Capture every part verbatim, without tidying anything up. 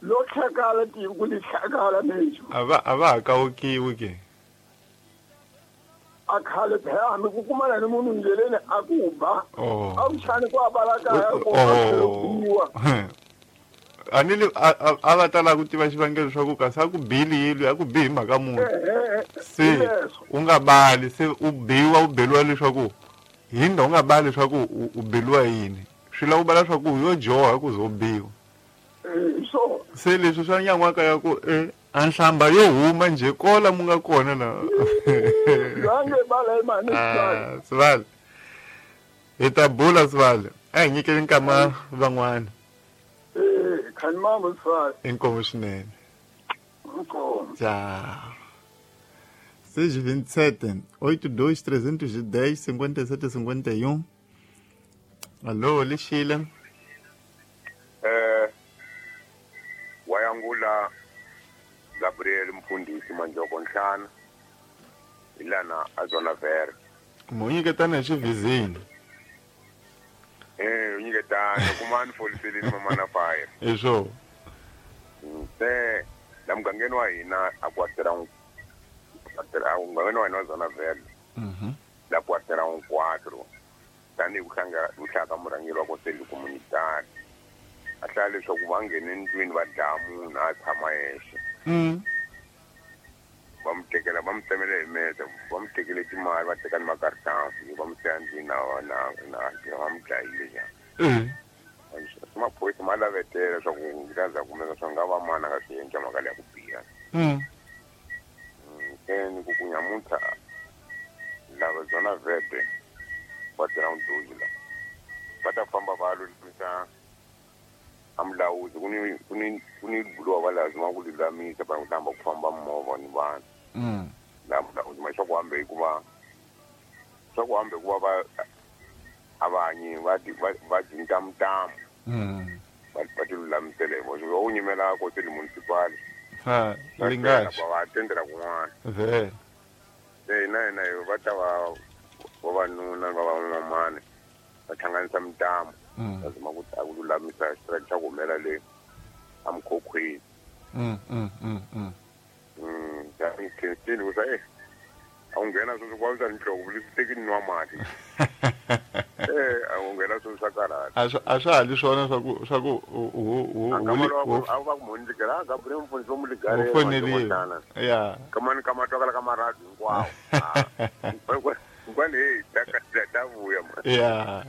Lo hlakala tiko li hlakala mensho. A va a va ha kawukiwi ke. A khale phela hambi ku kumana ni munhu ndleleni a ku ba. Oh. A wu chani ku a balakaya ku Oh. biwa. A ni li a a- a va ta lava ku tiva xivangelo swa ku kasi a ku bili yilo a ku bi hi mhaka muni. Ehe, Se hi leswo. u nga bali se u biwa u beliwa leswaku hinda u nga bali leswaku u u beliwa yini. Swi lava u bala swa ku yo dyoha ku ze u biwa. Eh, hi swona. Se leswi swa nyan'waka ya ku e a nhlamba yo huma njhe kola mu nga kona la. Loyi a nge bala hi mhani Sibali. Ah, Sibali. Hi ta bula Sibali. A hi nyikeni nkama van'wana. Eh, khani mambo Sibali. Inkomu swinene. Inkomu. Tchau. seis vinte e sete, oito dois, trezentos e dez, cinquenta e sete, cinquenta e um. Alô, Lixila. Eh wayangula Gabriel Mfundisi Manjoko Nhlana ilana azona ver Mo nyiketana hi xivhizini. eh unyiketana kumani foliseleni mama na fire Hi swona. se la mugangeni wa hina a kwatera kwatera mugangeni wa hina wa zona ver Mhm. la kwatera un quatro tanihi ku hlanga ku hlaya ka murhangeri wa koseli communitary a hlaya leswaku va nghene ndlwini va dlaya munhu a tshama yexe Mm. va mu tekela va mu tsemele hi mese va mu tekele timali va teka ni makartansi va mu siya ndlwini na na na va mu dlayile njhani Eh. swi maphorisa ma lavetela leswaku ngi za kumeka swi nga va mani a nga swi endla mhaka leya ku biha Mm. se ni ku ku nyamuntlha lava byona vete va tirha mudhuzi la va ta famba va lulamisa a mulawuzi ku ni ku ni ku ni buluwa va lazima ku lulamisa va ku tamba ku famba movha ni vanhu Mm. la mulawuzi ma swa ku hambe hikuva swa ku hambe hikuva va avanyi va ti- va va cinca mutamu Mm. va va ti lulamisela hi voxe va wu nyimela koseli municipal Ha, va lingaxi. va tendela kun'wana Vele. se hina hina hi va ta va vavanuna va van'wamani va hlanganisa mitamu Mm. lazima ku ta ku lulamisa xitiraki xa ku humela le emikhokhweni Mm, mm, mm, mm. Mm, khensini ku sa e a wu nghena sweswi ku vavisa nhloko leswi teki ni nwa mati e a wu nghena sweswi swa karhata A swi a swa ha li swona swa ku swa ku u u u a u kama lowa u ku- a va ku mhoni ligara a Gabriel mfundhisi wo mu u ligarela foneliwe. Ya. kamani kama twakala ka maradu hinkwawo hinkwani heyi ta ta vuya ma Ya.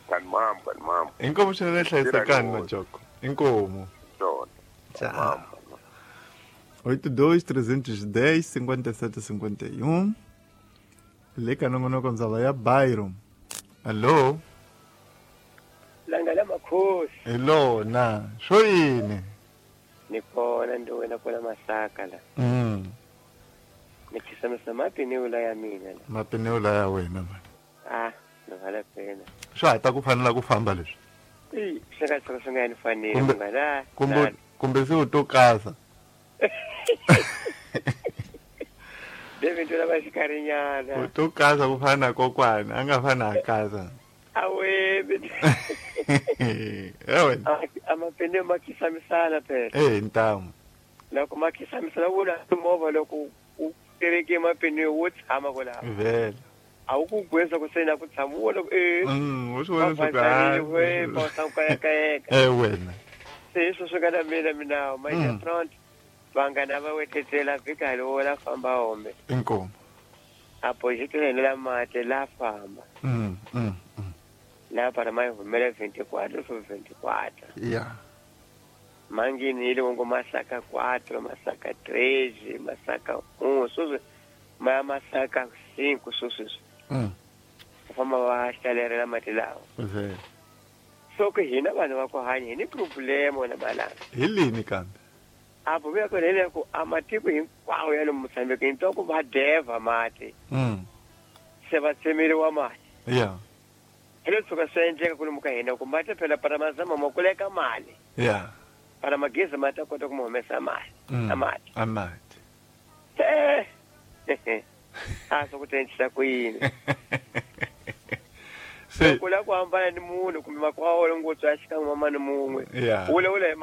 kani mambo kani mambo Inkomu swinene hlayisekani Majoko. Inkomu. swona Tchau. oito dois, trezentos e dez, cinquenta e sete, cinquenta e um. Le ka nongonoko ndzaba ya Byron. Allo? Langa la makhosi Hello na. Swo yini? ni kona ndi wena kona masaka la Mm. ni khisamisa mapiniwula ya mina la Mapinewula ya wena man. ah ni vala pena Swa ha ta ku fanela ku famba leswi. i swi nga tshuka swi nga ni faneli Kumbe- munghana Kumbe kumbe se u to kasa. David u lava xikarinyana U to kasa ku fana na kokwana, a nga fani a kasa. awe Eh wena. amapiniwe ma khisamisana phela Eh ntamu. loko ma khisamisana wu la movha loko u tereke mapiniwe wo tshama kwalaho Vele. a wu ku gweza ku se na ku tshama wo loko e Mm, u swi vona swi va we pa kayakayeka Eh wena. se hi sweswo ka na mina minawo Mm. maja front vanghana va wetetela vhika lowo la famba home Inkomu. a boxetela hina la mati la famba Mm, mm, mm. la para ma yi humela veintiquatro so veintiquatro Yeah. manghenile ngo masaka quatro masaka três masaka um sweswi ma ya masaka cinco sweswi Mm. va famba va hlalerela mati lawa Vele. so ku hina vanhu va ku hanya hi ni problema na malanga Hi lini kambe? apo vuya kona hi leku a matiko hinkwawo ya le Mozambique hi twa ku va devha mati Mm. se va tsemeriwa mati Yeah. hi le tshuka swi endleka kwalomu ka hina ku mati phela para mazama ma kuleka mali Yeah. para magezi ma ta kota ku ma humesa mali Mm. a mati A mati. se a swi ku ta endlisa ku yini Se ku lava ku hambana ni munhu kumbe makwavo ngopfu a xikan'we mama ni mun'we Yeah. wula wula hi